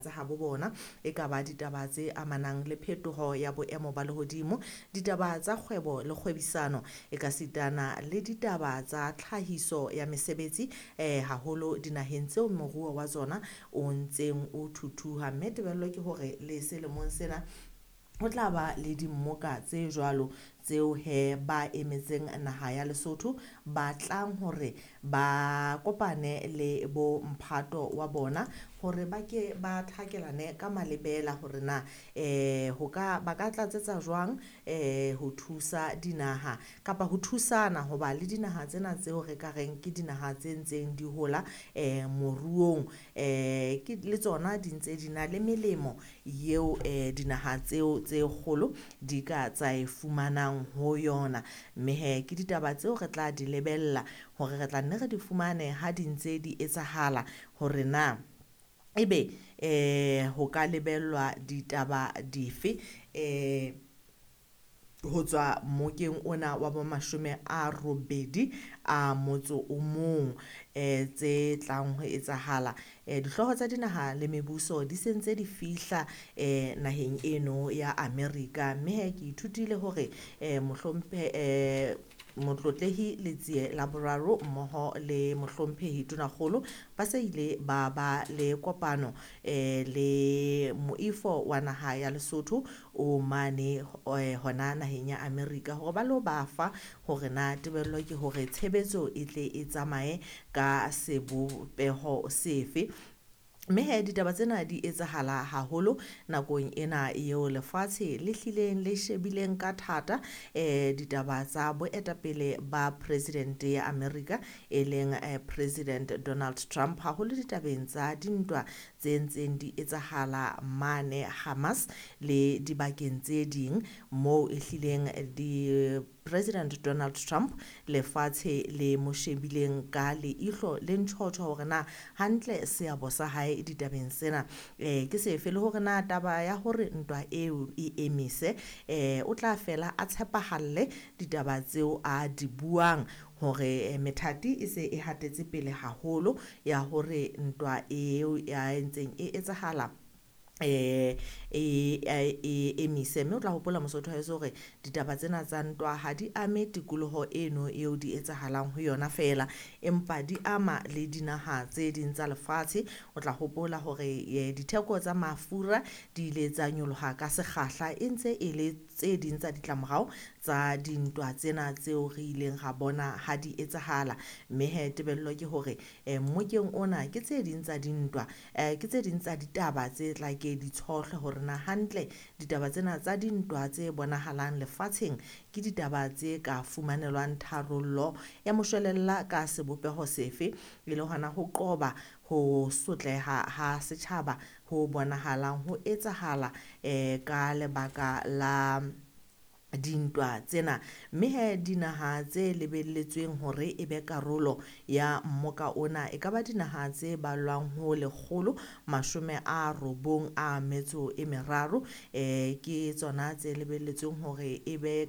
Tsa habo bona, e ka ba ditaba tse amanang le phetoho ya boemo ba lehodimo, ditaba tsa kgwebo le kgwebisano, e ka sitana le ditaba tsa tlhahiso ya mesebetsi haholo dinaheng tseo moruo wa tsona o ntseng o thuthuha. Mme tebello ke hore le selemong sena ho tla ba le dimmoka tse jwalo tseo he ba emetseng naha ya Lesotho ba tlang hore ba kopane le bo mphato wa bona hore ba ke ba thakelane ka malebela hore na ho ka ba ka tlatsetsa jwang ho thusa dinaha kapa ho thusana hoba le dinaha tsena tseo re ka reng ke dinaha tse ntseng di hola moruong ke le tsona di ntse di na le melemo eo dinaha tseo tse kgolo di ka tsa e fumanang ho yona. Mme he ke ditaba tseo re tla di lebella hore re tla nne re di fumane ha di ntse di etsahala hore na ebe ho ka lebellwa ditaba dife ho tswa mokeng ona wa bo 81 tse tlang ho etsahala. Dihlooho tsa dinaha le mebuso di se ntse di fihla naheng eno ya America. Mme he ke ithutile hore Motlotlehi Letsie la Boraro mmoho le Mohlomphehi Tonakgolo ba se ile ba ba le kopano le moifo wa naha ya Lesotho o mane hona naheng ya America hore ba lo ba fa hore na tebello ke hore tshebetso e tle e tsamaye ka sebopeho sefe. Mme he ditaba tsena di etsahala haholo nakong ena eo lefatshe le hlileng le shebileng ka thata ditaba tsa boetapele ba president ya America e leng President Donald Trump haholo ditabeng tsa dintwa tse ntseng di etsahala mane Hamas le dibakeng tse ding moo e hlileng di President Donald Trump lefatshe le mo shebileng ka leihlo le ntjhotjho hore na hantle seabo sa hae ditabeng sena ke sefe le hore na taba ya hore ntwa eo e emise o tla fela a tshepahalle ditaba tseo a di buang hore methati e se e hatetse pele haholo ya hore ntwa eo ya entseng e etsahala e emise. Mme o tla hopola Mosotho wa heso hore ditaba tsena tsa ntwa ha di ame tikoloho eno eo di etsahalang ho yona feela, empa di ama le dinaha tse ding tsa lefatshe. O tla hopola hore ditheko tsa mafura di ile tsa nyoloha ka sekgahla e ntse e le tse ding tsa ditlamorao tsa dintwa tsena tseo re ileng ra bona ha di etsahala. Mme he tebello ke hore mmokeng ona ke tse ding tsa dintwa ke tse ding tsa ditaba tse tla ke di tshohle hore na hantle ditaba tsena tsa dintwa tse bonahalang lefatsheng ke ditaba tse ka fumanelwang tharollo ya moshwelella ka sebopeho sefe e le hona ho qoba ho sotleha ha setjhaba ho bonahalang ho etsahala ka lebaka la dintwa tsena. Mme he dinaha tse lebelletsweng hore e be karolo ya mmoka ona e ka ba dinaha tse ballwang ho 193 ke tsona tse lebelletsweng hore e be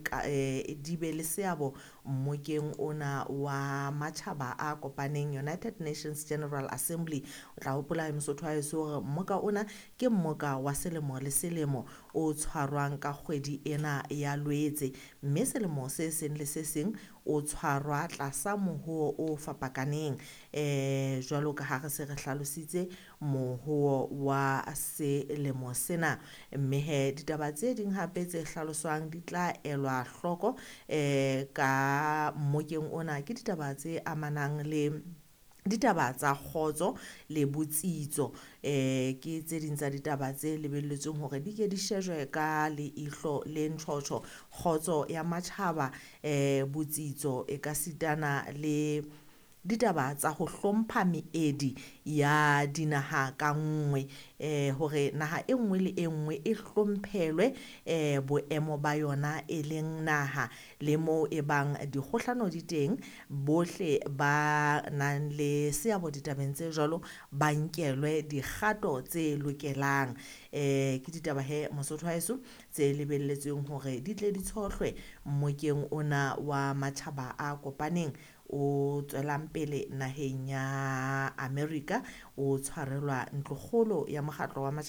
di be le seabo mmokeng ona wa matjhaba a kopaneng United Nations General Assembly. O tla hopola Mosotho wa heso hore mmoka ona ke mmoka wa selemo le selemo o tshwarwang ka kgwedi ena ya Loetse, mme selemo se seng le se seng o tshwarwa tlasa mohoo o fapakaneng jwalo ka ha re se re hlalositse mohoo wa selemo sena. Mme he ditaba tse ding hape tse hlaloswang di tla elwa hloko ka mmokeng ona ke ditaba tse amanang le ditaba tsa kgotso le botsitso ke tse ding tsa ditaba tse lebelletsweng hore di ke di shejwe ka leihlo le ntjhotjho. Kgotso ya matjhaba botsitso e ka sitana le ditaba tsa ho hlompha meedi ya dinaha ka nngwe hore naha e nngwe le e nngwe e hlomphelwe boemo ba yona e leng naha le moo e bang dikgohlano di teng bohle ba nang le seabo ditabeng tse jwalo ba nkelwe dikgato tse lokelang. Ke ditaba he Mosotho wa heso tse lebelletsweng hore di tle di tshohlwe mmokeng ona wa matjhaba a kopaneng o tswelang pele naheng ya America, o tshwarelwa ntlokgolo ya mokgatlo wa matjhaba.